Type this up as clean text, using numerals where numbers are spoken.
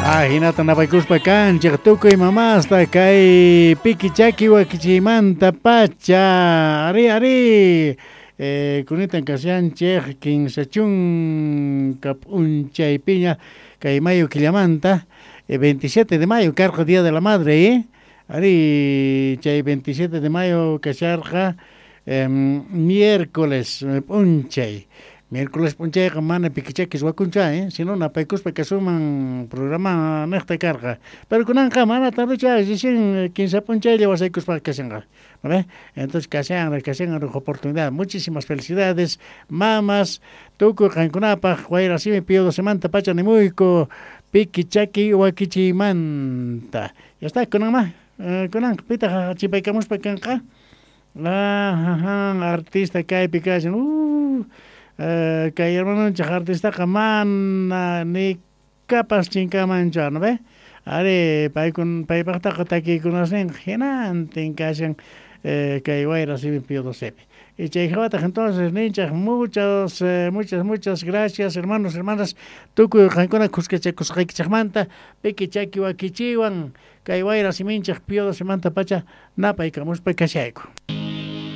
Ajinata napaykuspa kanchej tukuy mamasta kay piki chaki wakichiymanta pacha. Ari, ari. Kunitan kashanchej 30 p'unchaypiña kay mayo killamanta, 27 de mayo karqa Día de la Madre, ¿eh? Ari, chay 27 de mayo kasharqa miércoles p'unchay. Miércoles p'unchayqa mana pikichakis wakuncha, ¿eh? Sino napaykuspa kasunman programa nejta karqa. Pero kunanqa mana tardecha, recién 15 p'unchaylla wasaykuspa kashanqa. ¿Vale? Entonces kashan, kashan oportunidad. Muchísimas felicidades, mamas. Tukuy qankunapaj wayra simi Pío Doce pacha nimuyku piki chaki wakichiymanta. Ya está, kunan ma, kunan pitaq chipaykamuspa kanqa. Ah, artista kaypi kashan. Kay hermanonchej artistaqa mana ni kapas chinkamanchu, ¿no ve? Ari, paykun paypaqtaqa takiykunasninqa hinantin kashan kay wayra simi Pío Docepi. Y chay hawataq entonces ninchaj muchas, muchas, muchas gracias, hermanos, hermanas, tukuy qankuna khuskachakusqaykichejmanta piki chaki wakichiwan kay wayra siminchej Pío Docemanta pacha napaykamuspa kashayku.